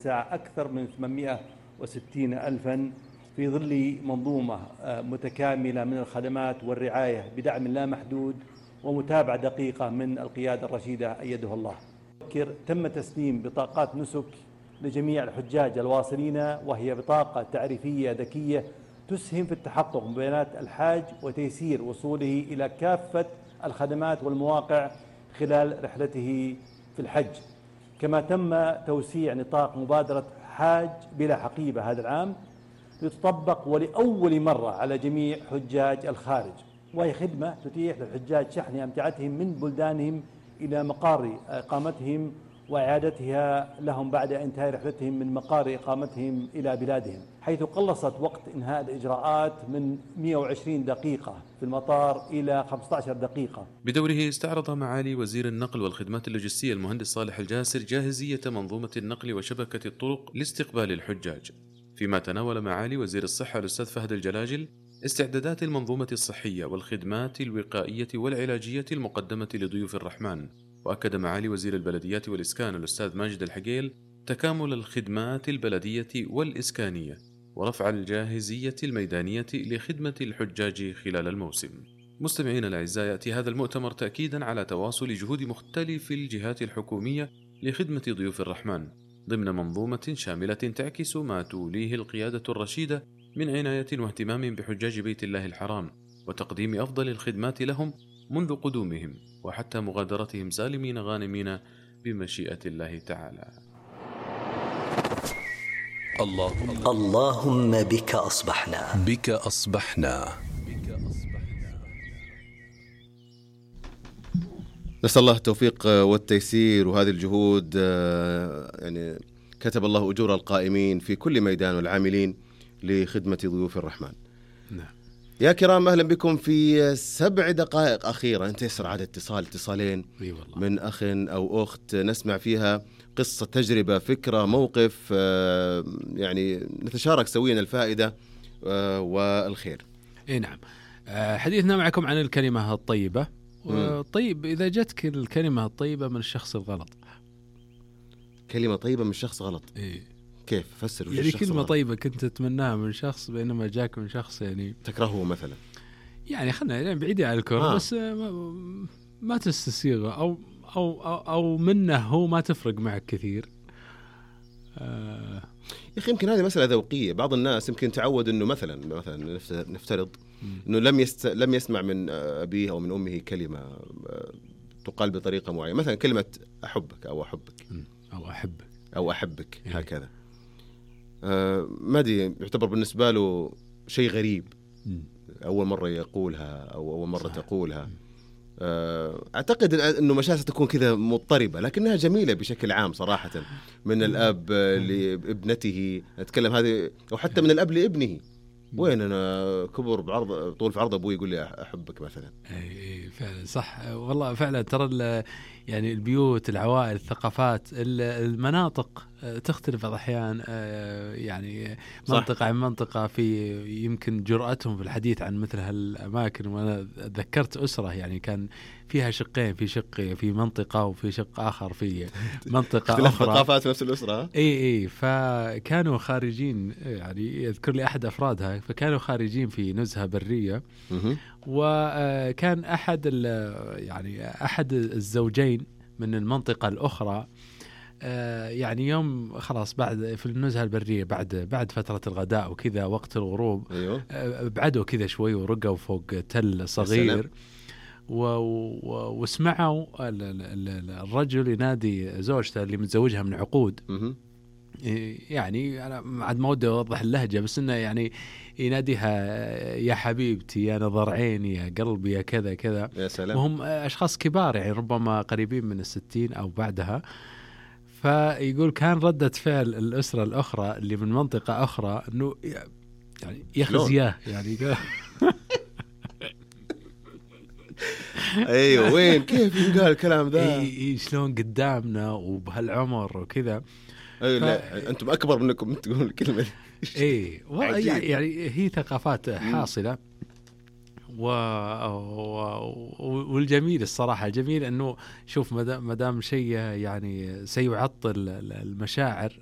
الساعة أكثر من 860 ألفا في ظل منظومة متكاملة من الخدمات والرعاية بدعم لا محدود ومتابعة دقيقة من القيادة الرشيدة أيده الله. تم تسليم بطاقات نسك لجميع الحجاج الواصلين، وهي بطاقة تعريفية ذكية تسهم في التحقق من بيانات الحاج وتيسير وصوله إلى كافة الخدمات والمواقع خلال رحلته في الحج. كما تم توسيع نطاق مبادرة حاج بلا حقيبة هذا العام لتطبق ولأول مرة على جميع حجاج الخارج، وهي خدمة تتيح للحجاج شحن أمتعتهم من بلدانهم إلى مقار إقامتهم وإعادتها لهم بعد انتهاء رحلتهم من مقار إقامتهم إلى بلادهم، حيث قلصت وقت إنهاء الإجراءات من 120 دقيقة في المطار إلى 15 دقيقة. بدوره استعرض معالي وزير النقل والخدمات اللوجستية المهندس صالح الجاسر جاهزية منظومة النقل وشبكة الطرق لاستقبال الحجاج، فيما تناول معالي وزير الصحة الأستاذ فهد الجلاجل استعدادات المنظومة الصحية والخدمات الوقائية والعلاجية المقدمة لضيوف الرحمن. وأكد معالي وزير البلديات والإسكان الأستاذ ماجد الحقيل تكامل الخدمات البلدية والإسكانية ورفع الجاهزية الميدانية لخدمة الحجاج خلال الموسم. مستمعين الأعزاء، يأتي هذا المؤتمر تأكيدا على تواصل جهود مختلف الجهات الحكومية لخدمة ضيوف الرحمن ضمن منظومة شاملة تعكس ما توليه القيادة الرشيدة من عناية واهتمام بحجاج بيت الله الحرام وتقديم أفضل الخدمات لهم منذ قدومهم وحتى مغادرتهم سالمين غانمين بمشيئة الله تعالى. اللهم بك أصبحنا. نسأل الله التوفيق والتيسير وهذه الجهود، يعني كتب الله أجور القائمين في كل ميدان والعاملين لخدمة ضيوف الرحمن. نعم. يا كرام، أهلا بكم في 7 دقائق أخيرة انتشر عدد اتصالين من أخ أو أخت نسمع فيها قصة، تجربة، فكرة، موقف، يعني نتشارك سويا الفائدة والخير. نعم. حديثنا معكم عن الكلمة الطيبة. طيب، إذا جتك الكلمة الطيبة من الشخص الغلط. كلمة طيبة من الشخص غلط؟ كيف فسر؟ يعني كلمة طيبة كنت تتمناها من شخص بينما جاك من شخص يعني تكرهه مثلا، يعني خلنا يعني بعيدة عن الكره، بس ما تستسيغه أو منه هو ما تفرق معك كثير. يا أخي يمكن هذه مسألة ذوقية. بعض الناس يمكن تعود إنه مثلا نفترض إنه لم يسمع من أبيه أو من أمه كلمة تقال بطريقة معينة، مثلا كلمة أحبك أو أحبك أو أحبك هكذا. ما دي يعتبر بالنسبة له شيء غريب، أول مرة يقولها أو أول مرة تقولها. أعتقد أنه مشاعر تكون كذا مضطربة، لكنها جميلة بشكل عام صراحة، من الأب لابنته نتكلم هذه، أو حتى من الأب لابنه. وين أنا كبر بعرض طول في عرض أبوي يقول لي أحبك مثلا. أي فعلا صح والله، فعلا ترى يعني البيوت، العوائل، الثقافات، المناطق تختلف بعض الأحيان، يعني منطقة عن منطقة في يمكن جرأتهم في الحديث عن مثل هالأماكن. وأنا ذكرت أسرة يعني كان فيها شقين، في شق في منطقة وفي شق آخر في منطقة أخرى، ثقافات نفس الأسرة. إيه فكانوا خارجين، يعني يذكر لي أحد أفرادها، فكانوا خارجين في نزهة برية، وكان أحد الزوجين من المنطقة الأخرى، يعني يوم خلاص بعد في النزهة البرية بعد فترة الغداء وكذا وقت الغروب، بعدوا كذا شوي ورقوا فوق تل صغير، وسمعوا الرجل ينادي زوجته اللي متزوجها من عقود. يعني أنا عاد ما ودي أوضح اللهجة، بس إنه يعني يناديها يا حبيبتي، يا نظر عيني، يا قلبي، يا كذا كذا. يا سلام. وهم أشخاص كبار يعني ربما قريبين من 60 أو بعدها. فيقول كان ردة فعل الأسرة الأخرى اللي من منطقة أخرى إنه يعني يخزياه يعني ايوه وين كيف ينقال الكلام ذا؟ شلون قدامنا وبهالعمر وكذا. لا انتم اكبر منكم تقولون الكلمه دي. يعني هي ثقافات حاصله. والجميل الصراحه الجميل انه شوف مدام شيء يعني سيعطل المشاعر